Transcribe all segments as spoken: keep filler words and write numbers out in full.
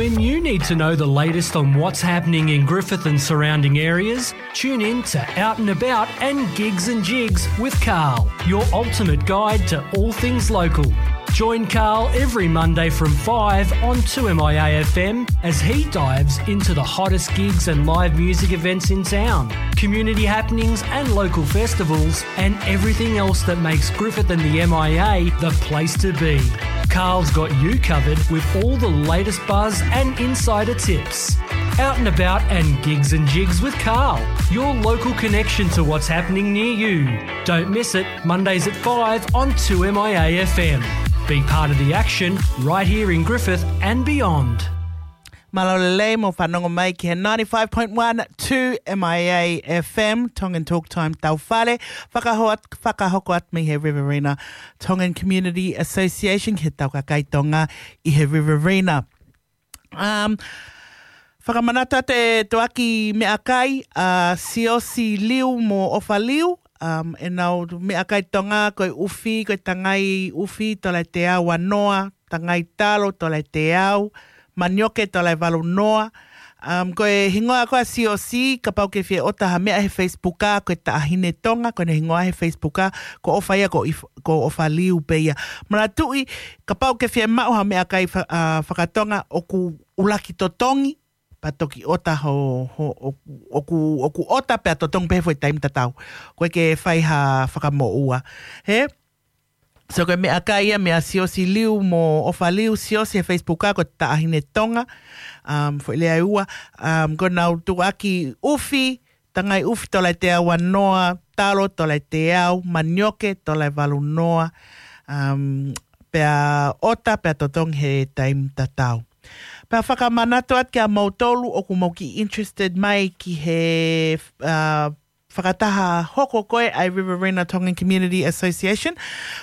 When you need to know the latest on what's happening in Griffith and surrounding areas, tune in to Out and About and Gigs and Jigs with Carl, your ultimate guide to all things local. Join Carl every Monday from five on two M I A F M as he dives into the hottest gigs and live music events in town, community happenings and local festivals, and everything else that makes Griffith and the M I A the place to be. Carl's got you covered with all the latest buzz and insider tips. Out and About and Gigs and Jigs with Carl, your local connection to what's happening near you. Don't miss it, Mondays at five on two M I A F M. Be part of the action right here in Griffith and beyond. Mālō e lelei mo fanongo mai ki he ninety-five point one two M I A F M, Tongan Talk Time Taufale, fakahoat-, fakahoko atu mei he Riverina Tongan Community Association ki he tau kakai Tonga ʻi he Riverina. Um, fakamanatu atu e tuʻuaki meʻakai, ʻa Siosi Liu mo ʻOfa Liu, um, ʻenau meʻakai Tonga ko e ʻufi, ko e tangai ʻufi, tola ʻe teau ua noa, tangai talo, tola ʻe teau, manioke, tola ʻe valu noa. Um, ko e hingoa ko ē ʻa Siosi, kapau ʻoku ke fie ʻota ha meʻa he Facebook, ko e Taʻahine Tonga, ko ʻene hingoa he Facebook, ko ʻOfa ia, ko ʻIf-, ko ʻOfa Liu pē ia. Manatuʻi, kapau ʻoku ke fie maʻu ha meʻakai fa-, ʻa, fakatonga, ʻoku ʻuluaki totongi, pea toki ʻota ho, ho, ʻoku, ʻoku, ʻoku ʻota pea totongi pē he foʻi taimi tatau. ʻOku ʻikai ke fai ha fakamoʻua. Hē? So ko e meʻakai ia meia Siosi Liu mo ʻOfa Liu, Siosi he Facebook ko e Taʻahine Tonga, um, foʻi lea ʻe ua, um, ko ʻenau tuʻuaki ʻufi, tangai ʻufi tola ʻe teau ua noa, talo tola ʻe teau, manioke tola ʻe valu noa, um, pea ʻota, pea totongi he taimi tatau. Pea fakamanatu atu kia moutolu ʻoku mou kiʻi interested mai ki he, uh, fakataha hoko ko ē ʻa e Riverina Tongan Community Association,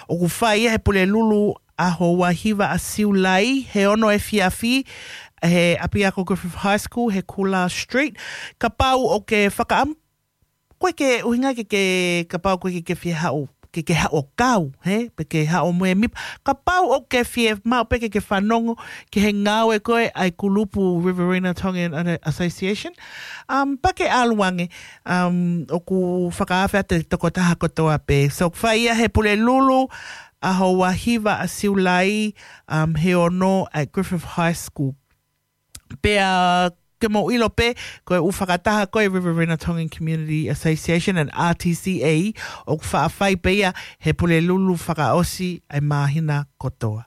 ʻoku fai ia he Pulelulu ʻaho ua hiva ʻa Siulai, he ono efiafi, he ʻapiako Griffith High School, he Kula Street. Kapau ʻoku ke fakaʻam-, ʻoku ʻikai ke ʻuhinga ke, ke, kapau ʻoku ʻikai ke, ke fie haʻu, ke, ke haʻu ʻo kau, hē? Pe ke haʻu mo e mipa. Kapau ʻoku ke fie maʻu pē ke, ke fanongo ki he ngāue ko ē ʻa e kulupu Riverina Tongan Association, um, pea ke ʻalu ange, um, ʻoku fakaafe atu e tokotaha kotoa pē. So, fai ia he Pulelulu ʻaho ua hiva ʻa Siulai, um, he ono ʻa e Griffith High School. Pea ke mou ʻilo pē, ko e ʻū fakataha ko ē Riverina Tongan Community Association and R T C A, ʻoku faʻa fai pē ia he Pulelulu fakaʻosi ʻa e māhina kotoa.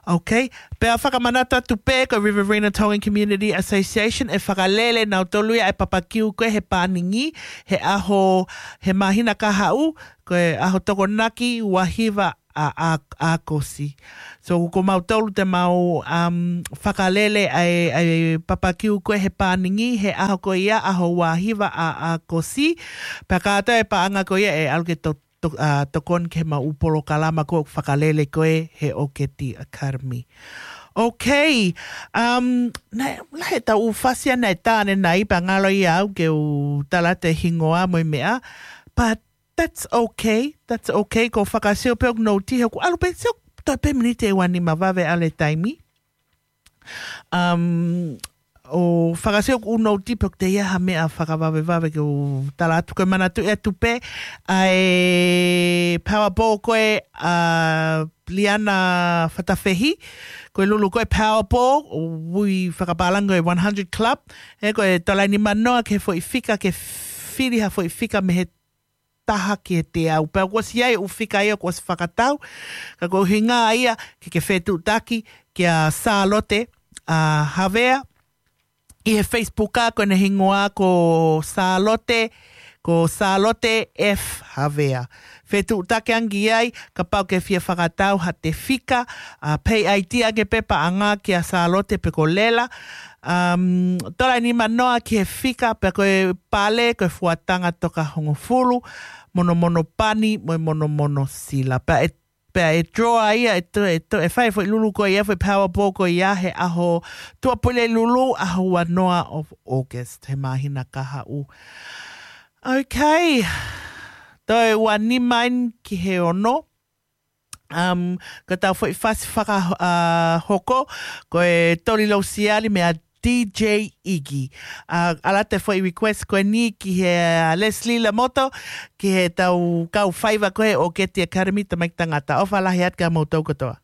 Okay? Pea fakamanatu atu pē ko e Riverina Tongan Community Association ʻe fakalele nautolu ia ʻa e papakiu ko ē he pāningi, he ʻaho, he māhina kahaʻu, ko e ʻaho Tokonaki, ua hiva ʻa, ʻa, ʻAokosi. So, ko mautolu te mau, um, fakalele ʻa e, ʻa e papakiu ko ē he pāningi, he ʻaho ko ia, ʻaho ua hiva ʻa, ʻAokosi. Pea kātoa e paʻanga ko ia ʻe ʻalu ke to-, to-, uh, tokoni ki he mau polokalama ko ē ʻoku fakalele ko ē he ʻOketi Academy. Okay, um, naʻe, naʻe ʻi ai e tau ʻū fasi ia naʻe tā ʻanenai pea ngalo ia au ke u tala atu e hingoa mo e meʻa, but that's okay, that's okay. Ko e fakasio pē ʻoku nouti, he ʻoku ʻalu pē, sio, toe pē miniti ʻe ua nima vave ʻalu e taimi. Um, ʻo fakasio ʻoku nouti pē ʻoku teʻeki ai ha meʻa fakavavevave ke u tala atu, ko e manatuʻi atu pē ʻa e Powerball ko ē ʻa Liana Fatafehi, ko e lulu ko ē Powerball, ʻo ui fakapālangi ko e one hundred Club, ē, ko e tola ʻe nima noa ki he foʻi fika, ke fili ha foʻi fika mei he taha ki he teau. Pea kuo ʻosi ʻi ai e ʻū fika ia kuo ʻosi fakatau, ka ko e ʻuhinga ia ke ke fetuʻutaki kia Sālote, ʻa, Havea, ʻi he Facebook, ko ʻene hingoa ko Sālote, ko Sālote F Havea. Fetuʻutaki ange ki ai, kapau ʻoku ke fie fakatau ha te fika, ʻa, pay I D ange pē paʻanga kia Sālote pe ko Lela. Um, tola ʻe nima noa ki he fika, pea ko e pale, ko e fuatanga toka hongofulu, monomono pani, mo e monomono sila. Pea ʻe, pea ʻe draw ia, ʻe to-, ʻe to-, ʻe fai e foʻi lulu ko ia, foʻi Powerball ko ia, he ʻaho Tuʻapulelulu, ʻaho ua noa of August, he māhina kahaʻu. Okay. Toe ua nima eni ki he ono. Um, ko ʻetau foʻi fasi fakahoko, ko e Toli Lousiali meia D J Iggy. Uh, ʻalu atu e foʻi request ko eni ki he uh, Leslie Lamoto, ki heʻetau kau faiva ko ē ʻo Keti Academy, tamaiki tangata. ʻOfa lahi atu kia moutolu kotoa.